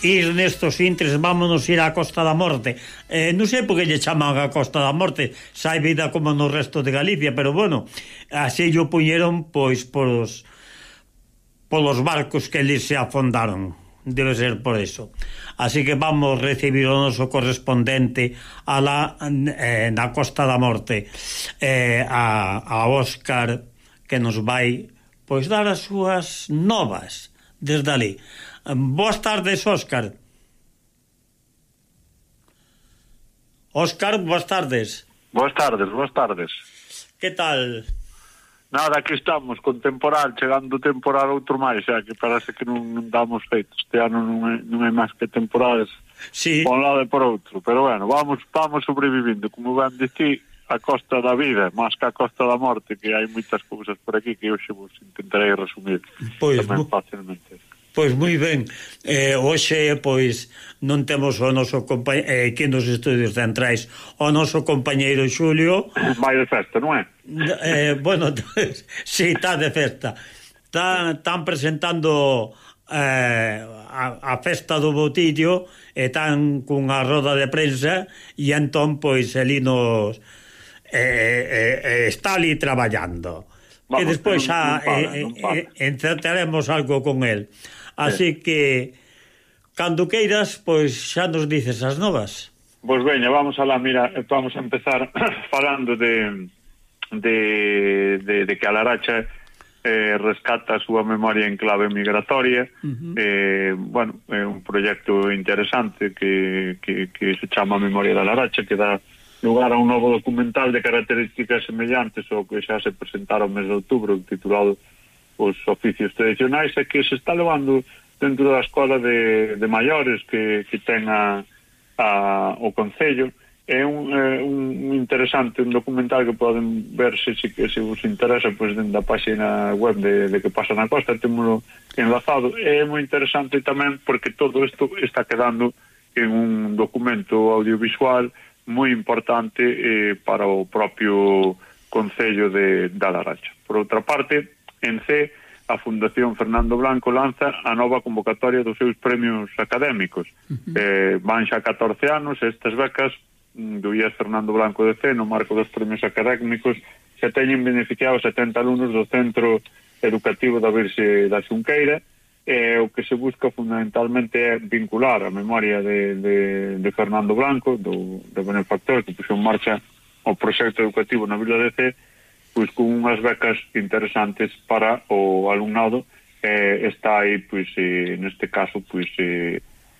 ir nestos intres, vámonos ir á Costa da Morte. Non sei por que lle chaman a Costa da Morte, sai vida como no resto de Galicia, pero bueno, así yo puñeron pois polos barcos que eles se afondaron, debe ser por eso. Así que vamos recibir o noso correspondente na Costa da Morte, a Óscar, que nos vai pois dar as súas novas desde ali. Boas tardes, Óscar. Óscar, boas tardes. Boas tardes. Que tal? Nada, aquí estamos con temporal, chegando temporal outro máis, xa que parece que non damos feito. Este ano non é máis que temporales, sí, por un lado e por outro, pero bueno, vamos sobrevivindo, como ben dicir, a costa da vida, máis que a costa da morte, que hai moitas cousas por aquí que hoxe vos intentarei resumir tamén fácilmente. Pois moi ben, hoxe pois non temos o noso compañeiro aquí nos estudios centrais, o noso compañeiro Xulio. Vai de festa, non é? Bueno, si, está de festa. Están presentando a festa do Botillo, e están cunha roda de prensa, e entón pois ali nos está ali traballando. Vamos, e despois xa encertaremos algo con el. Así que cando queiras, pois xa nos dices as novas. Pois veña, vamos alá, mira, vamos a empezar falando de que a Laracha rescata a súa memoria en clave migratoria. Bueno, é un proxecto interesante que se chama Memoria da Laracha, que dá lugar a un novo documental de características semellantes ao que xa se presentara o mes de outubro, titulado Os oficios tradicionais, e que se está levando dentro da escola de maiores que ten o Concello. É un interesante, un documental que poden ver se vos interesa, pois dentro da página web de Que pasa na Costa, temoslo enlazado. É moi interesante tamén porque todo isto está quedando en un documento audiovisual moi importante para o propio Concello da Laracha. Por outra parte, en C, a Fundación Fernando Blanco lanza a nova convocatoria dos seus premios académicos. Van xa 14 anos, estas becas do IES Fernando Blanco de C, no marco dos premios académicos, xa teñen beneficiado 70 alumnos do Centro Educativo da Virxe da Xunqueira. O que se busca fundamentalmente é vincular a memoria de Fernando Blanco, do benefactor que puxo en marcha o proxecto educativo na Vila de C, pois con unhas becas interesantes para o alumnado. Está aí, pois, neste caso, pois,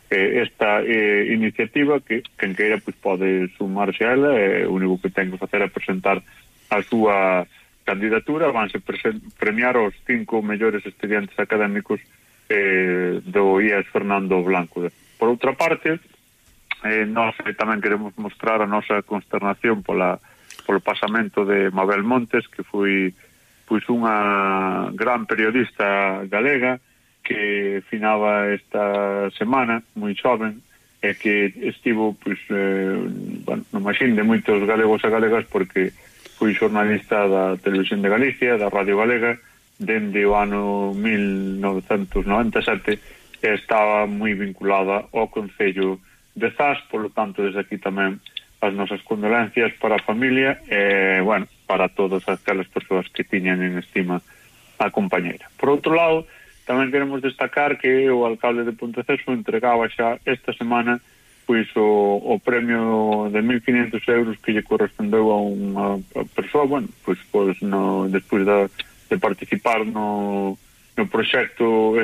esta iniciativa que quen queira pois pode sumarse a ela. O único que ten que facer é presentar a súa candidatura. Vanse premiar os 5 mellores estudiantes académicos do IES Fernando Blanco. Por outra parte, nós tamén queremos mostrar a nosa consternación polo pasamento de Mabel Montes, que foi pois unha gran periodista galega que finaba esta semana, moi xoven, e que estivo pois no máxin de moitos galegos e galegas, porque foi xornalista da Televisión de Galicia, da Radio Galega, dende o ano 1997, e estaba moi vinculada ao Concello de Zas. Por lo tanto, desde aquí tamén as nosas condolencias para a familia e, bueno, para todas aquelas persoas que tiñan en estima a compañeira. Por outro lado, tamén queremos destacar que o alcalde de Ponteceso entregaba xa esta semana pois o premio de 1.500 euros que lle correspondeu a unha persoa, bueno, pois despois de participar no proxecto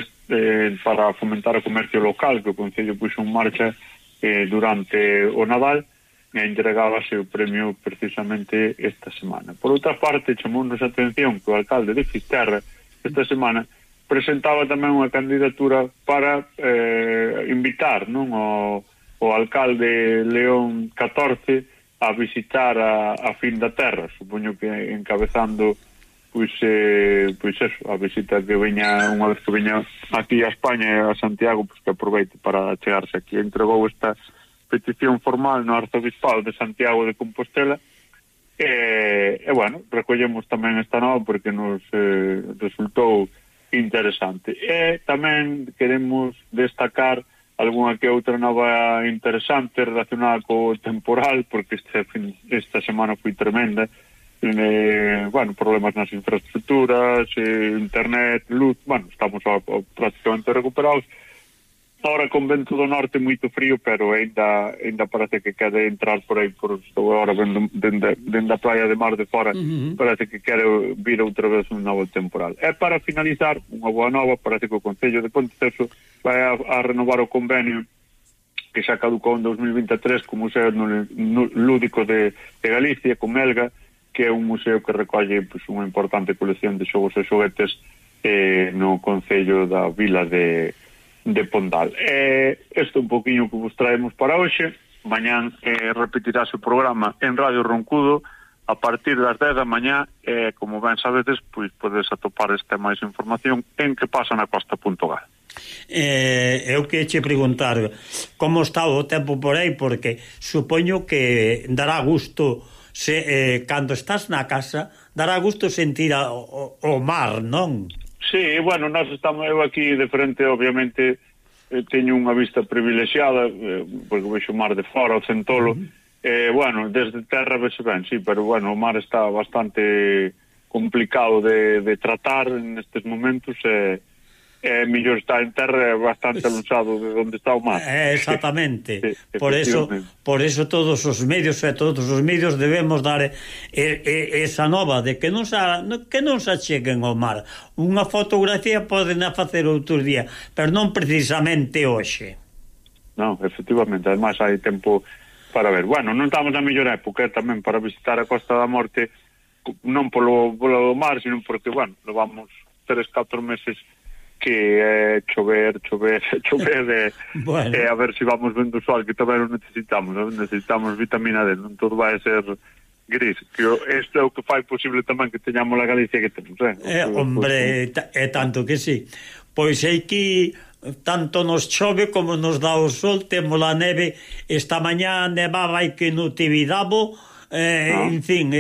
para fomentar o comercio local que o Concello puxo en marcha durante o Nadal, e entregábase o premio precisamente esta semana. Por outra parte, chamounos a atención que o alcalde de Fisterra esta semana presentaba tamén unha candidatura para invitar o alcalde León XIV a visitar a fin da terra, supoño que encabezando pois eso, a visita que veña, unha vez que veña aquí a España e a Santiago, pois que aproveite para chegarse aquí. Entregou esta petición formal no Arzobispado de Santiago de Compostela e bueno, recollemos tamén esta nova porque nos resultou interesante. E tamén queremos destacar algunha que outra nova interesante relacionada co temporal, porque esta semana foi tremenda. Bueno, problemas nas infraestructuras, internet, luz, bueno, estamos prácticamente recuperados. Ahora con vento do norte moito frío, pero ainda parece que quere entrar por aí, estou agora vendo dende a praia de Mar de Fora, parece que quere vir outra vez un novo temporal. E para finalizar, unha boa nova, parece que o Concello de Ponteceso vai a renovar o convenio que xa caducou en 2023 co Museo Lúdico de Galicia, con Melga, que é un museo que recolle unha importante colección de xogos e xoguetes no Concello da Vila de Pondal. Isto é un poquinho que vos traemos para hoxe. Mañán repetirase o programa en Radio Roncudo a partir das 10 da mañá, como ben sabedes, pois podes atopar esta máis información en que pasa na costa.gal. Eu que che preguntar como está o tempo por aí, porque supoño que dará gusto cando estás na casa, dará gusto sentir o mar, non? Sí, bueno, nós estamos eu aquí de frente, obviamente teño unha vista privilexiada, porque vexo o mar de fora, o Centolo, bueno, desde terra vese ben, sí, pero bueno, o mar está bastante complicado de tratar nestes momentos, mellor estar en terra bastante alonxado de onde está o mar. Exactamente. Sí, por eso todos os medios debemos dar esa nova de que non se acheguen ao mar. Unha fotografía poden a facer outro día, pero non precisamente hoxe. Non, efectivamente, además hai tempo para ver. Bueno, non estamos na mellor época tamén para visitar a Costa da Morte, non polo mar, sino porque, bueno, levamos 3-4 meses que chover bueno. A ver se vamos vendo o sol, que tamén o necesitamos vitamina D, non todo vai ser gris, que isto é o que fai posible tamén que teñamos a Galicia que temos, hombre, é tanto que sí. Pois aquí tanto nos chove como nos dá o sol, temos a neve, esta mañá nevaba aí que no Tibidabo, en fin,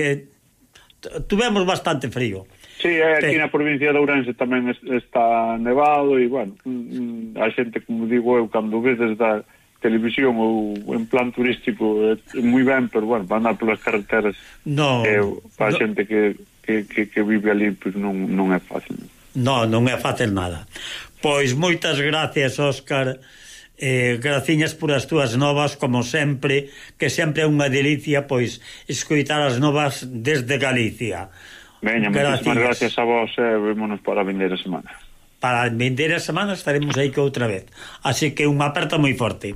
tuvemos bastante frío. Sí, aquí na provincia de Ourense tamén está nevado e, bueno, a xente, como digo eu, cando vedes da televisión ou en plan turístico é moi ben, pero, bueno, para andar polas carreteras para a xente que vive ali, pois non é fácil. Non é fácil nada. Pois moitas gracias, Óscar, graciñas por as túas novas, como sempre, que sempre é unha delicia, pois, escoitar as novas desde Galicia. Veña, moitísimas gracias a vos, vémonos para a vindeira semana. Para a vindeira semana estaremos aí que outra vez. Así que unha aperta moi forte.